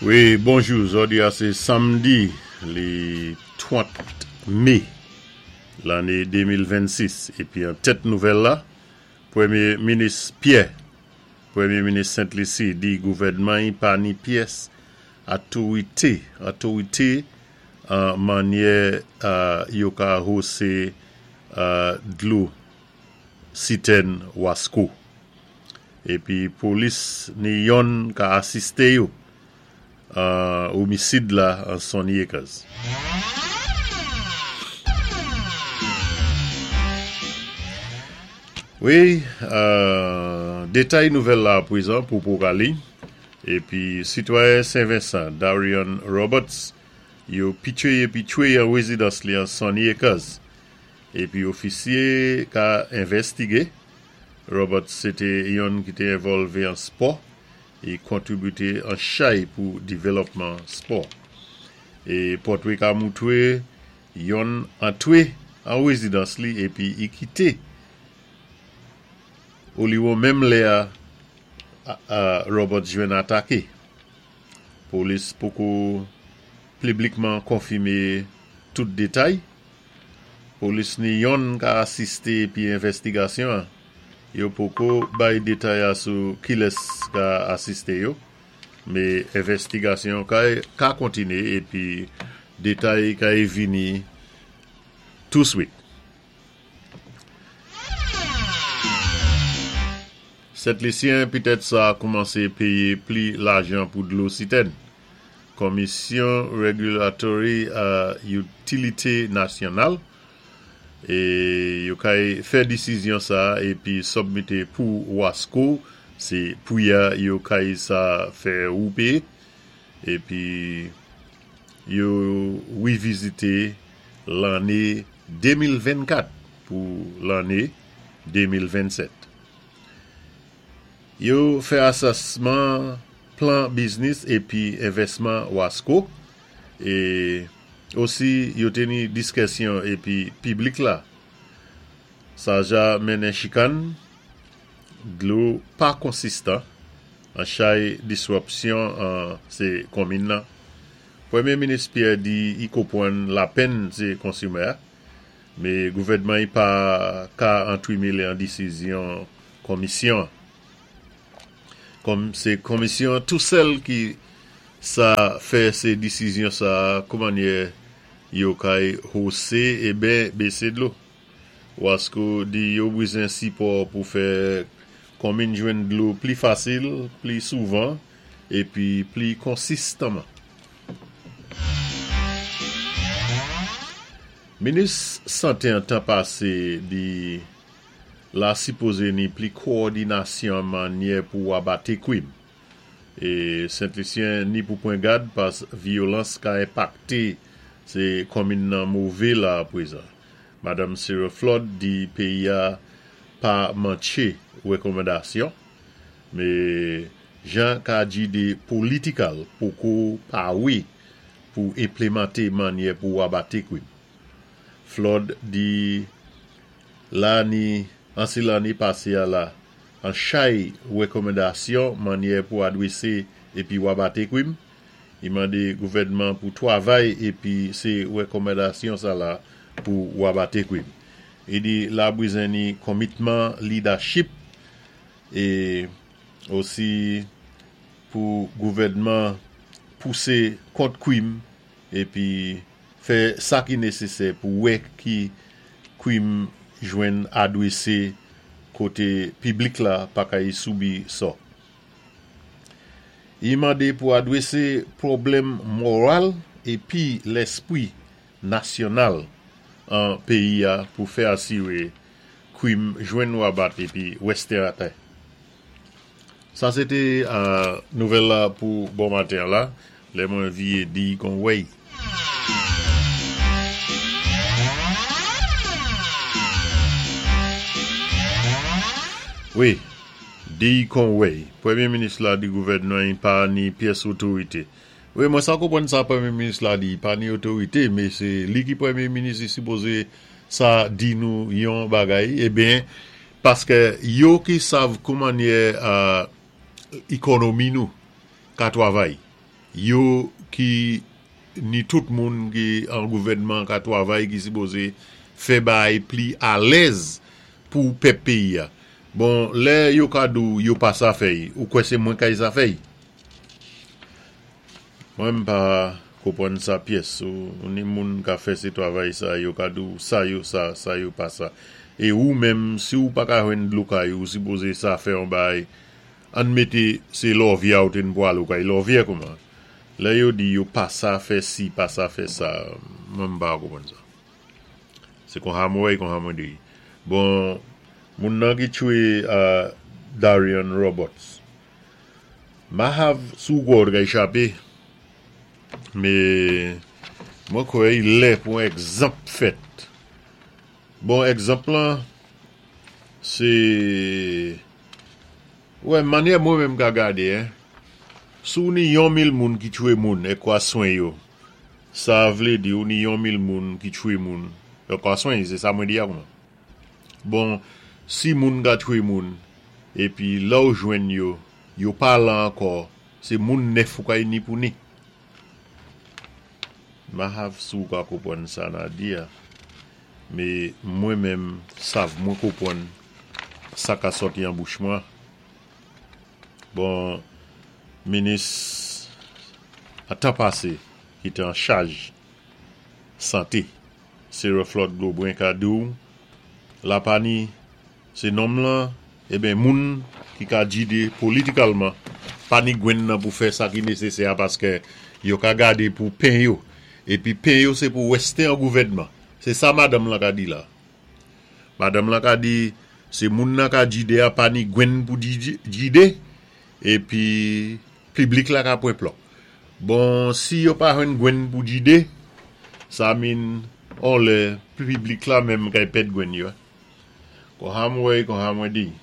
Wi, bonjou, zòdi a sé samdi li 30 mé lanné 2026 épi an tèt nouvèl la, Pwémyé minis Pyè, Pwémyé minis Sent Lisi di gouvèdman-y pa ni pyès atorité otorité an mannyè yo ka hosé dlo sitèn Wasko. Epi polis ni yonn ka asiste yo an omisid la an Sunny Acres. Wi, detay nouvèl la aprezan pou Pocali. Epi sitwayen Sen Vensan Darion Roberts yo pitye epi tchwe an rezidans li an Sunny Acres. Epi ofisye ka envèstige. Roberts se te yonn ki te envòlve an spò e kontribite an chay pou divelòpman spò. E pòtwe ka moutre yonn antre an rezidans li epi i kite oliwon menm lè a Roberts jwenn atake. Polis poko pliblikman konfime tout detay. Polis ni yonn ka asiste epi envèstigasyon an. Yo poko bay detay a sou kilès ka asiste yo, me envèstigasyon ka kontine epi detay ka vini touswit. Sentlisyen pitèt sa koumanse peye pli lajan pou dlo sitèn. Komisyon Regulatory Utilite Nasyonal e yo kay fè disizyon sa epi submite pou Wasco se pri a yo kay sa fè ou peye epi yo revizite lanne 2024 pou lanne 2027. Yo fè asèsman plan biznis epi envèsman Wasco e osi yo teni diskèsyon epi piblik la. Sa ja mennen chikan, dlo pa konsistan, an chay disrupsyon an se konmin nan. Premye Minis Pierre di i konpwann lapenn se konsumè a, me gouvèdman i pa ka antwimele an disizyon konmisyon an. Kòm se konmisyon an tou sèl ki sa fè se disizyon sa a koumannyè yo kay hose e ben bese dlo. Wasco di yo bwizen sipò pou fè konmin jwenn dlo pli fasil, pli souvan epi pli konsistanman. Minis sante an tan pase di la sipoze ni pli kowòdinasyon mannyè pou abate kwim. E Sentlisyen ni pou pwen gad pas vyolans ka enpakte se konmin nan move la prezan. Madam Sarah Flood di peyi a pa mantche rekòmandasyon. Me jan ka di de politikal poko pawe pou enplemante mannyè pou abate kwim. Flood di la ni ansi lane pase a la an chay rekòmandasyon mannyè pou adrese epi wabate kwim. I mande gouvènman pou twavay epi se rekòmandasyon sa la pou wabate kwim. I di la bwizen ni komitman lidachip e osi pou gouvènman pouse kont kwim epi fè sa ki nesesè pou wè ki kwim jwenn adrese kote piblik la pa kay soubi sò. I mande pou adrese pwoblèm moral epi lèspwi nasyonal an peyi a pou fè asire kwim jwenn wabat epi wèstè atè. Sa se te nouvèl la pou bon maten an la, lè mwen viye di kon wèy. Wi, di kon wèy. Premye minis la di gouvènman y pa ni pyès otorite. Wi mwen sa konprann sa premye minis la di pa ni otorite me se li ki premye minis li sipoze sa di nou yon bagay eben paske yo ki sav koumannyè ikonomi nou ka twavay. Yo ki ni tout moun ki an gouvènman ka twavay ki sipozé fè baay pli alèz pou pèp péyi a. Bon, lè yo ka di w yo pa sa fè y, ou kwè sé mwen kay sa fè y? Mwen m pa konpwann sa pyès. Ou ni moun ka fè sé twavay sa, yo ka di w sa yo sa, sa yo pa sa. É ou menm, si ou pa ka jwenn dlo kay ou, ou sipozé sa fè yon baay. Ann mété sé Lòvyè a ou té n pwal, ou kay Lòvyè kouman? Lè yo di yo pa sa fè si, pa sa fè sa, mwen m pa konpwann sa. Se konsa mwen wè y, konsa mwen di y. Bon, moun nan ki tchwé Darian Roberts, Mahav si w kwè w t ka echape, me mwen kwè i lè pou yon egzanp fèt. Bon egzanp lan se wè manyè mwen menm ka gade hein, si w ni yon 1000 moun ki tchwe moun e kwa swen yo, sa vle di w ni yon 1000 moun ki tchwe moun e kwa swen se sa mwen di a kouman? Bon si moun ka tchwe moun epi lèw jwenn yo yo pa la ankò se moun nèf ou kay ni pou ni. Mahav si w ka konpwann sa na di a me mwen menm sav mwen konpwann sa ka sòti an bouch mwen bon minis a tan pase ki te an chaj sante Seroflot Gobren ka di w la pa ni se nonm lan eben moun ki ka jide politikalman pa ni gwenn nan pou fè sa ki nesesè a paskè yo ka gade pou pen yo epi pen yo se pou wèste an gouvènman se sa madanm lan ka di la madanm lan ka di se moun nan ka jide a pa ni gwenn pou jide epi Piblik la ka pwen plò. Bon si yo pa jwenn gwenn pou jide, sa min on lè piblik la menm kay pèd gwenn yo. Konsa m wè y konsa mwen di y.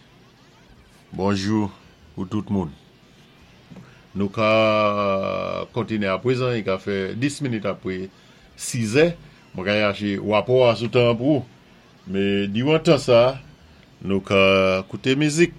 Bonjou pou tout moun. Nou ka kontine aprezan, y ka fè 10 minit apre 6 zè. Mwen ka yache wapò a sou tan an pou ou. Me diwan tan sa, nou ka koute mizik.